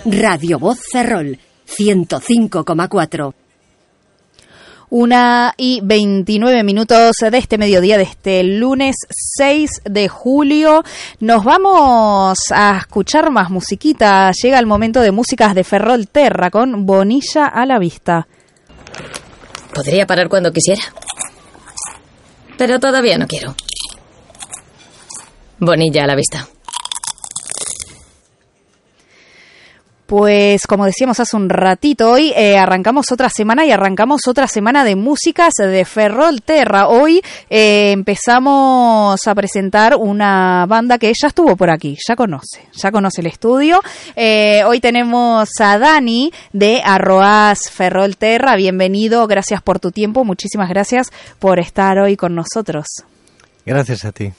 Radio Voz Ferrol, 105,4. 1:29 de este mediodía, de este lunes 6 de julio. Nos vamos a escuchar más musiquita. Llega el momento de músicas de Ferrol Terra con Bonilla a la vista. Podría parar cuando quisiera, pero todavía no quiero. Bonilla a la vista. Pues como decíamos hace un ratito, hoy arrancamos otra semana de músicas de Ferrol Terra. Hoy empezamos a presentar una banda que ella estuvo por aquí, ya conoce el estudio. Hoy tenemos a Dani de Arroaz Ferrol Terra. Bienvenido, gracias por tu tiempo, muchísimas gracias por estar hoy con nosotros. Gracias a ti.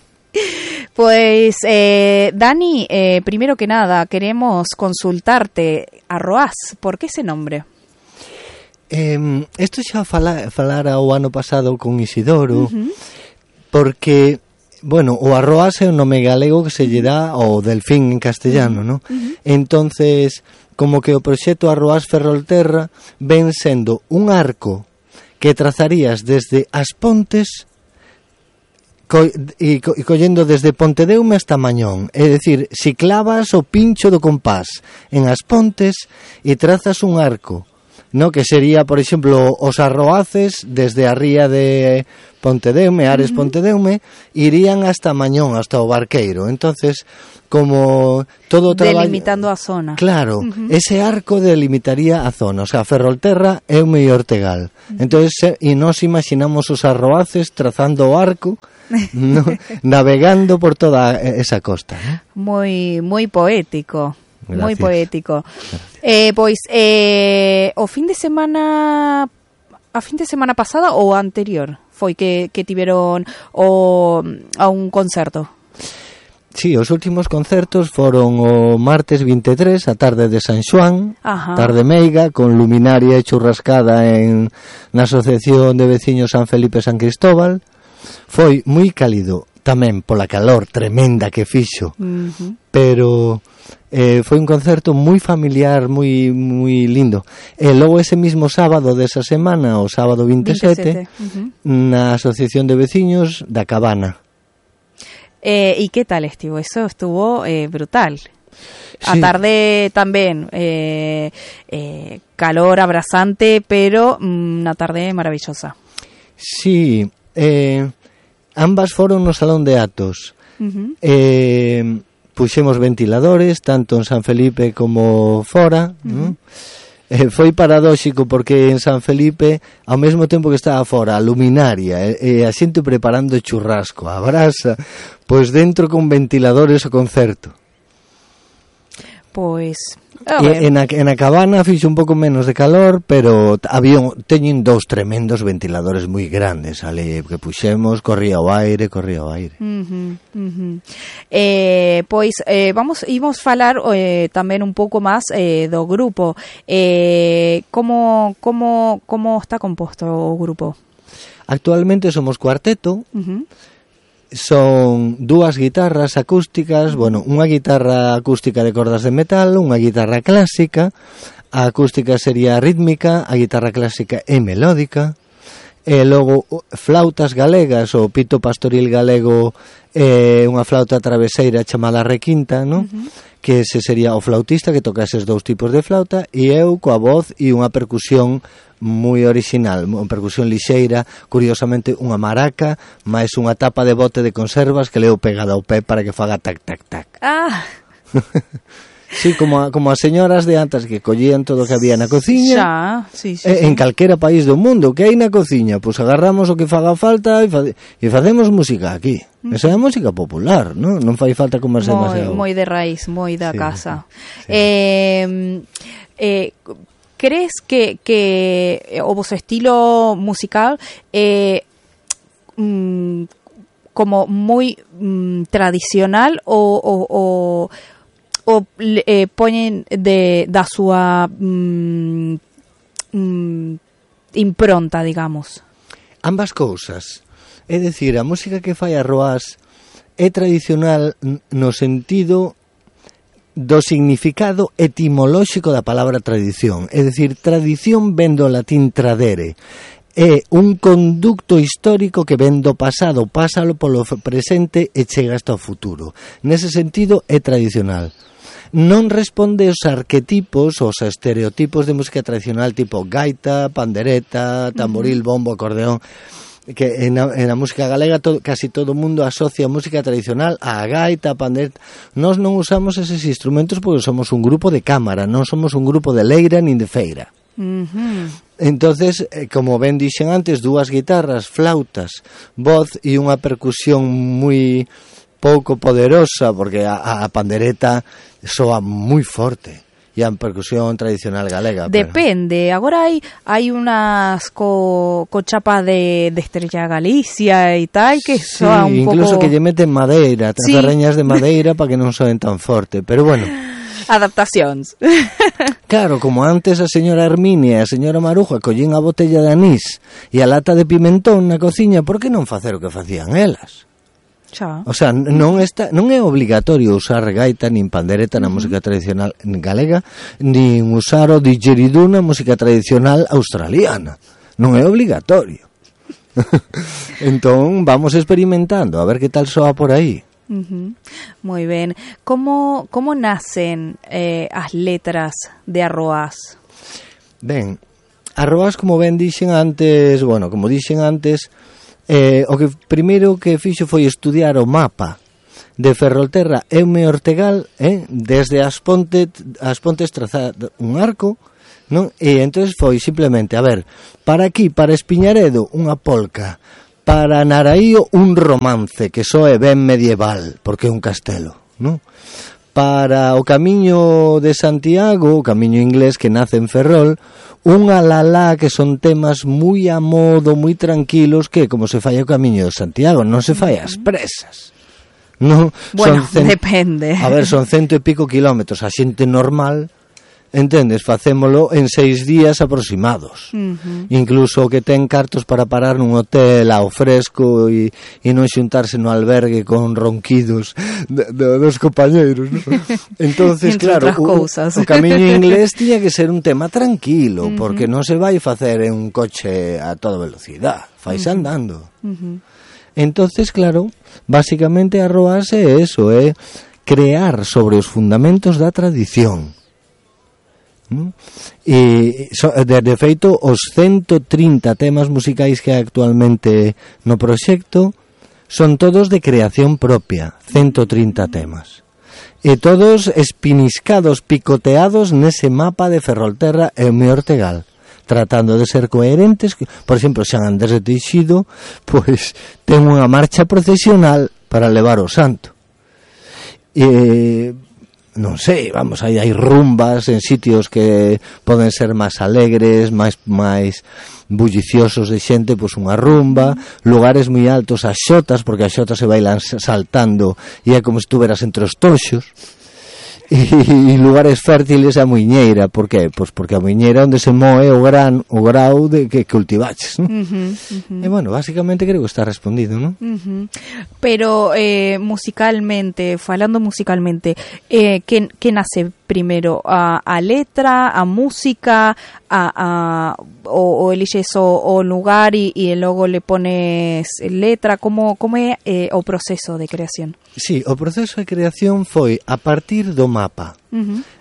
Pues, Dani, primero que nada, queremos consultarte, Arroaz, ¿por qué ese nombre? Isto xa falara o ano pasado con Isidoro, porque, bueno, o Arroaz é un nome galego que se lle dá ao delfín en castellano, ¿no? Entonces, como que o proxecto Arroaz Ferrol Terra ven sendo un arco que trazarías desde As Pontes e collendo desde Pontedeume hasta Mañón, é dicir, si clavas o pincho do compás en As Pontes e trazas un arco, no, que sería, por exemplo, os Arroaces desde a ría de Pontedeume, Ares Pontedeume, irían hasta Mañón, hasta o Barqueiro. Entonces, como todo traballo, delimitando a zona. Claro, ese arco delimitaría a zona, o sea, Ferrolterra é o mellor tegal. Entonces, e nós imaginamos os Arroaces trazando o arco, no, navegando por toda esa costa, ¿no? Muy poético. Gracias. Muy poético. Pois o fin de semana pasada ou anterior foi que tiveron a un concerto. Sí, os últimos concertos foron o martes 23, a tarde de San Xoán, tarde meiga, con luminaria e churrascada na Asociación de Veciños San Felipe San Cristóbal. Foi moi cálido tamén pola calor tremenda que fixo, pero foi un concerto moi familiar, moi lindo. E logo ese mismo sábado desa semana, o sábado 27, na Asociación de Veciños da Cabana. E que tal estivo? Eso estuvo brutal. A Sí. tarde tamén calor abrasante, pero unha tarde maravillosa. Sí, ambas foron no Salón de Atos. Puxemos ventiladores tanto en San Felipe como fora, foi paradóxico porque en San Felipe ao mesmo tempo que estaba fora a luminaria e a xente preparando churrasco, a brasa, pois dentro con ventiladores o concerto. Pois en a Cabana fixo un pouco menos de calor, pero teñen dous tremendos ventiladores moi grandes ali que puxemos, corría o aire. Imos falar tamén un pouco máis do grupo. Como está composto o grupo? Actualmente somos cuarteto. Son dúas guitarras acústicas, bueno, unha guitarra acústica de cordas de metal, unha guitarra clásica, a acústica sería rítmica, a guitarra clásica é melódica, e logo flautas galegas, o pito pastoril galego é unha flauta traveseira chamada requinta, non? Que ese sería o flautista que toca eses dous tipos de flauta, e eu coa voz e unha percusión moi original, unha percusión lixeira, curiosamente unha maraca máis unha tapa de bote de conservas que leo pegada ao pé para que faga tac tac tac. Sí, como as señoras de antes que collían todo o que había na cociña. Sí. En calquera país do mundo que hai na cociña, pois agarramos o que faga falta e facemos música aquí. Esa é a música popular, non fai falta comerse demasiado. Moi de raíz, moi da casa. Sí. Crees que o vosso estilo musical como moi tradicional o poñen da súa impronta, digamos? Ambas cousas. É dicir, a música que fai Arroaz é tradicional no sentido do significado etimolóxico da palabra tradición. É dicir, tradición ven do latín tradere. É un conducto histórico que ven do pasado, pásalo polo presente e chega hasta o futuro. Nese sentido, é tradicional. Non responde aos arquetipos, aos estereotipos de música tradicional tipo gaita, pandereta, tamboril, bombo, acordeón, que en a música galega casi todo o mundo asocia a música tradicional a gaita, a pandereta. Nós non usamos eses instrumentos porque somos un grupo de cámara, non somos un grupo de leira nin de feira. Entonces, como ben dixen antes, dúas guitarras, flautas, voz e unha percusión moi pouco poderosa, porque a pandereta soa moi forte e a percusión tradicional galega. Depende, agora hai unas co chapa de Estrella Galicia e tal que soa un pouco... incluso que lle meten madeira, tarreñas de madeira para que non soen tan forte, pero bueno... Adaptacións. Claro, como antes a señora Herminia e a señora Maruja collín a botella de anís e a lata de pimentón na cociña, por que non facer o que facían elas? Xa. O sea, non é obligatorio usar gaita nin pandereta na música tradicional galega, nin usar o didgeridoo na música tradicional australiana. Non é obligatorio. Entón, vamos experimentando, a ver que tal soa por aí. Moi ben. Como nacen as letras de Arroás? Ben, Arroás, como ben dixen antes, o que primeiro que fixo foi estudiar o mapa de Ferrolterra e o Ortegal, desde as pontes trazar un arco, non? E entonces foi simplemente, a ver, para aquí, para Espiñaredo, unha polca, para Naraío un romance que soe ben medieval, porque é un castelo, non? Para o camiño de Santiago, o camiño inglés que nace en Ferrol, unha lalá que son temas moi a modo, moi tranquilos, que como se fai o camiño de Santiago, non se fai ás presas. Non, bueno, depende. A ver, son 100 e pico kilómetros, a xente normal... Entendes, facémolo en 6 días aproximados. Incluso o que ten cartos para parar nun hotel ao fresco e non xuntarse no albergue con ronquidos dos compañeiros, ¿no? Entonces, claro, o camiño inglés tiña que ser un tema tranquilo, porque non se vai facer en un coche a toda velocidade, faise andando. Entonces, claro, básicamente Arroás é eso, é crear sobre os fundamentos da tradición. E de feito os 130 temas musicais que hai actualmente no proxecto son todos de creación propia, 130 temas, e todos espiniscados, picoteados nese mapa de Ferrolterra e o Ortegal, tratando de ser coherentes. Por exemplo, San Andrés de Teixido pois ten unha marcha procesional para levar o santo, non sei, vamos, hai rumbas en sitios que poden ser máis alegres, máis bulliciosos de xente, pois unha rumba, lugares moi altos, as xotas, porque as xotas se bailan saltando e é como se estuveras entre os toxos, e lugares fértiles a muiñeira. Por que? Pois porque a muiñeira onde se moe o grau de que cultivaches, ¿no? E bueno, básicamente creo que está respondido, ¿no? Pero falando musicalmente, que nace primero? A letra, a música, o eliges o lugar e logo le pones letra? Como é o proceso de creación? Sí, o proceso de creación foi a partir do mapa,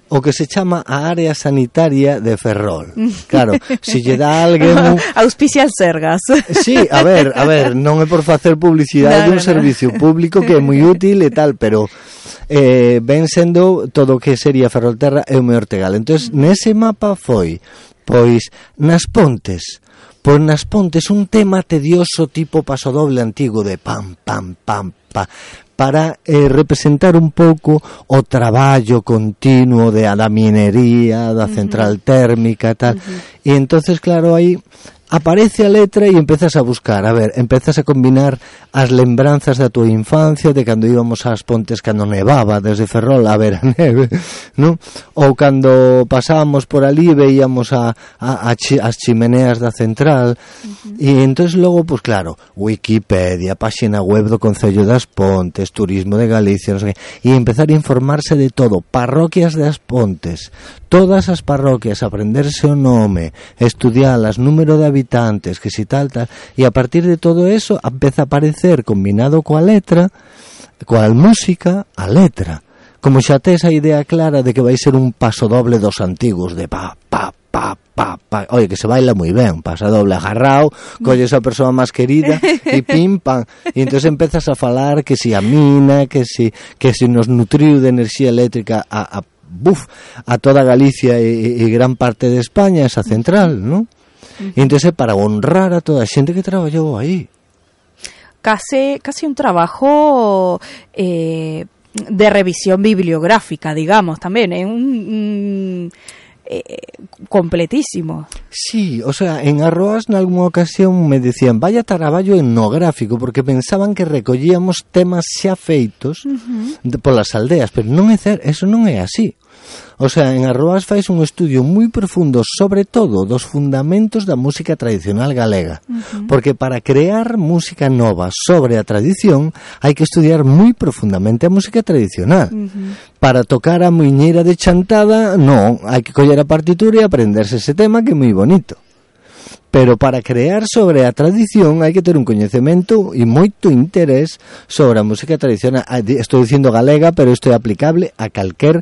o que se chama a área sanitaria de Ferrol. Claro, se lle dá alguén... Auspicia Sergas. Sí, a ver, non é por facer publicidade dun servicio público que é moi útil e tal, pero ven sendo todo o que sería Ferrolterra e o Ortegal. Entón, nese mapa foi, pois, nas pontes un tema tedioso tipo pasodoble antigo de pam, pam, pam, pa, para representar un pouco o traballo continuo da minería, da central térmica, tal. E entonces, claro, aí aparece a letra e empezas a buscar, a ver, empezas a combinar as lembranzas da tua infancia, de cando íbamos ás pontes cando nevaba desde Ferrol a ver a neve, non? Ou cando pasábamos por ali veíamos as chimeneas da central, e entonces logo, pues claro, Wikipedia, páxina web do Concello das Pontes, Turismo de Galicia, non sei que, e empezar a informarse de todo, parroquias das Pontes, todas as parroquias, aprenderse o nome, estudialas, número de habitantes, que si tal, e a partir de todo eso empeza a aparecer, combinado coa letra, coa música, a letra. Como xa tes a idea clara de que vai ser un pasodoble dos antigos, de pa, pa, pa, pa, pa. Oye, que se baila moi ben, pasodoble agarrao, colles a persoa máis querida e pim, pam. E entón empezas a falar que si a mina, que si nos nutriu de enerxía eléctrica a toda Galicia e gran parte de España, esa central, non? E entón para honrar a toda a xente que traballou aí. Casi un trabajo de revisión bibliográfica, digamos, también, completísimo. Sí, o sea, en Arroas nalgúna ocasión me decían vaya traballo etnográfico, porque pensaban que recollíamos temas xa feitos polas aldeas, pero non é eso non é así. O sea, en Arroas fais un estudio moi profundo, sobre todo dos fundamentos da música tradicional galega, porque para crear música nova sobre a tradición hai que estudiar moi profundamente a música tradicional. Para tocar a muiñeira de chantada, non, hai que coller a partitura e aprenderse ese tema que é moi bonito. Pero para crear sobre a tradición hai que ter un coñecemento e moito interés sobre a música tradicional. Estou dicindo galega, pero isto é aplicable a calquer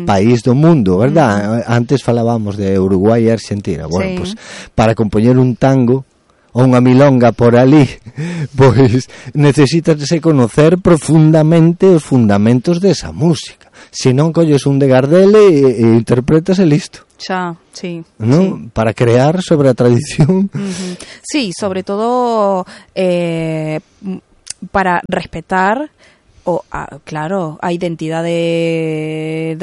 país do mundo, verdad? Antes falábamos de Uruguai e Argentina. Bueno, pues para compoñer un tango ou unha milonga por ali, pois necesitas conocer profundamente os fundamentos desa música. Se non colles un de Gardel e interpretas e listo. Ya, sí. ¿No? Sí. Para crear sobre la tradición. Sí, sobre todo para respetar, claro, a identidad de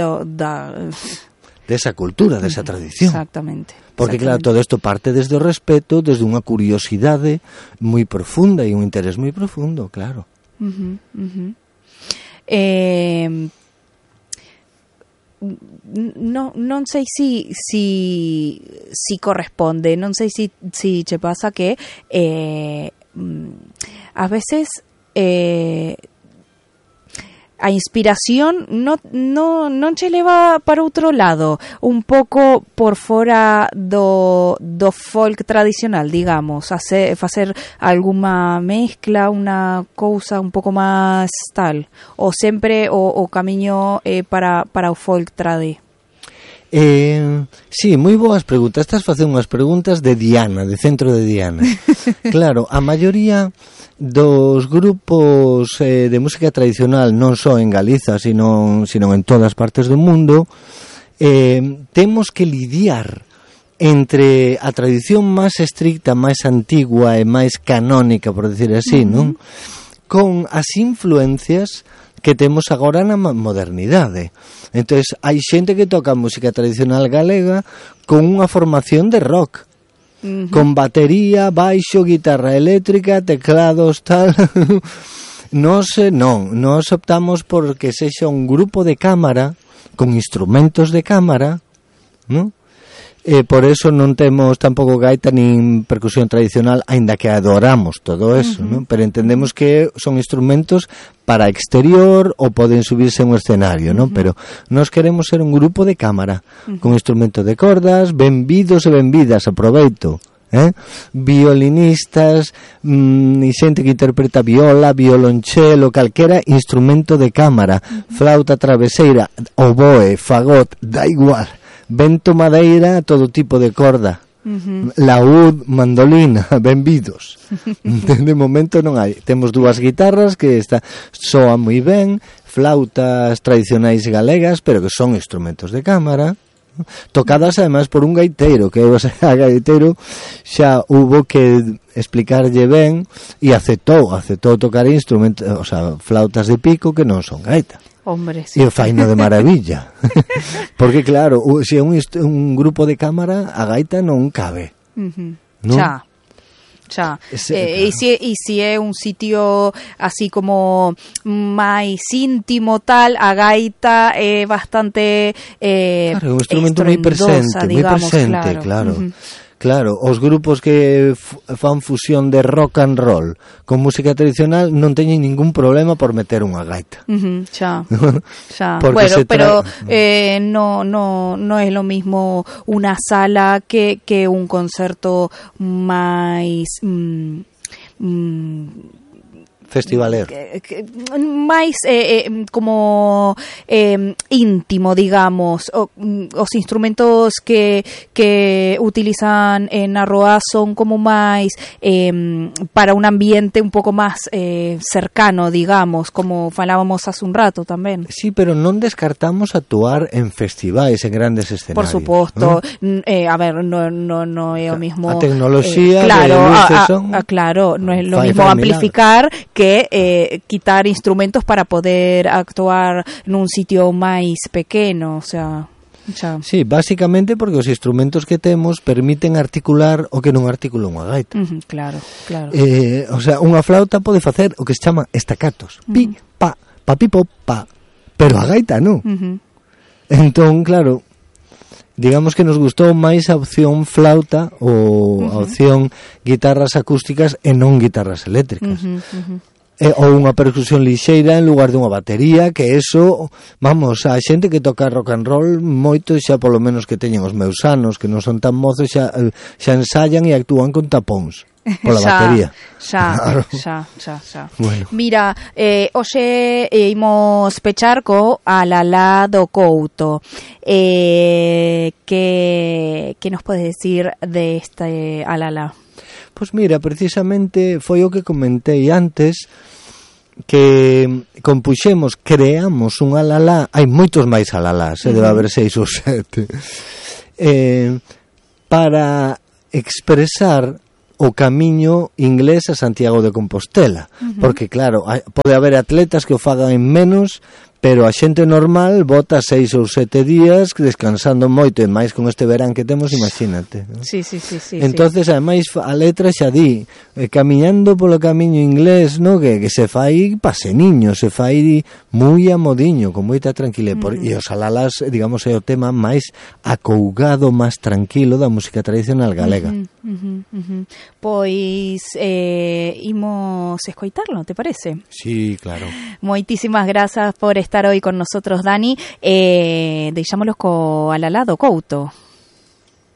esa cultura, de esa tradición. Exactamente. Porque claro, todo esto parte desde o respeto, desde unha curiosidade moi profunda e un interés moi profundo, claro. Non sei si corresponde, non sei si che pasa que a veces a inspiración non che leva para outro lado, un pouco por fora do folk tradicional, digamos, facer alguma mezcla, unha cousa un pouco máis tal, ou sempre o camiño para o folk tradi? Sí, moi boas preguntas. Estás facendo unhas preguntas de Diana, de Centro de Diana. Claro, a maioría dos grupos de música tradicional, non só en Galiza, sino en todas partes do mundo, temos que lidiar entre a tradición máis estricta, máis antigua e máis canónica, por decir así, non? Con as influencias que temos agora na modernidade. Entonces, hai xente que toca música tradicional galega con unha formación de rock, con batería, baixo, guitarra eléctrica, teclados, tal. Nos optamos por que sexa un grupo de cámara con instrumentos de cámara, ¿no? Por eso non temos tampouco gaita nin percusión tradicional, aínda que adoramos todo eso, ¿no? Pero entendemos que son instrumentos para exterior ou poden subirse a un escenario, ¿no? Pero nós queremos ser un grupo de cámara con instrumentos de cordas, benvidos e benvidas, aproveito, violinistas, e xente que interpreta viola, violonchelo, calquera instrumento de cámara, flauta traveseira, oboe, fagot, da igual, vento, madeira, todo tipo de corda, laúd, mandolina, benvidos. De momento non hai. Temos dúas guitarras que soan moi ben, flautas tradicionais galegas, pero que son instrumentos de cámara, tocadas ademais por un gaiteiro, que o sea, gaiteiro xa hubo que explicarlle ben e aceptou tocar instrumentos, o sea, flautas de pico que non son gaita. Hombre, sí. E o faino de maravilla. Porque claro, se é un grupo de cámara, a gaita non cabe. non? Xa. E se é un sitio así como máis íntimo tal, a gaita é bastante claro, un instrumento moi presente, digamos, claro. Claro, os grupos que fan fusión de rock and roll con música tradicional non teñen ningún problema por meter unha gaita. Xa. Bueno, pero no é lo mismo unha sala que un concerto máis festivalero. Máis como íntimo, digamos. Os instrumentos que utilizan na Roa son como máis para un ambiente un pouco máis cercano, digamos, como falábamos hace un rato tamén. Sí, pero non descartamos actuar en festivais, en grandes escenarios. Por suposto. A ver, no é o mismo. A tecnoloxía claro, de luces son... claro, no é lo mismo amplificar que quitar instrumentos para poder actuar nun sitio máis pequeno, o sea, xa. Sí, básicamente porque os instrumentos que temos permiten articular o que non articula unha gaita. Claro. O sea, unha flauta pode facer o que se chama estacatos. Pi, pa, pa, pi, po, pa. Pero a gaita non. Entón, claro, digamos que nos gustou máis a opción flauta ou a opción guitarras acústicas e non guitarras eléctricas. Ou unha percusión lixeira en lugar de unha batería, que eso, vamos, a xente que toca rock and roll moito, xa polo menos que teñen os meus anos, que non son tan mozos, xa ensayan e actúan con tapóns pola batería. Xa. Bueno. Mira, hoxe imos pechar co Alalá do Couto. Que nos podes decir de este Alalá? Pois mira, precisamente foi o que comentei antes, que compuxemos, creamos un alalá, hai moitos máis alalás, debe haber 6 ou 7, para expresar o camiño inglés a Santiago de Compostela, porque claro, pode haber atletas que o fagan en menos, pero a xente normal bota 6 ou 7 días descansando moito, e máis con este verán que temos, imagínate, ¿no? Sí. Entonces, ademais, a letra xa di, camiñando polo camiño inglés, no, que se fai paseniño, se fai moi amodiño, con moita tranquilidade, e os alalás, digamos, é o tema máis acougado, máis tranquilo da música tradicional galega. Pois imos escoitarlo, te parece? Sí, claro. Moitísimas grazas por estar hoy con nosotros, Dani. Deixámoslos co Alalá do Couto.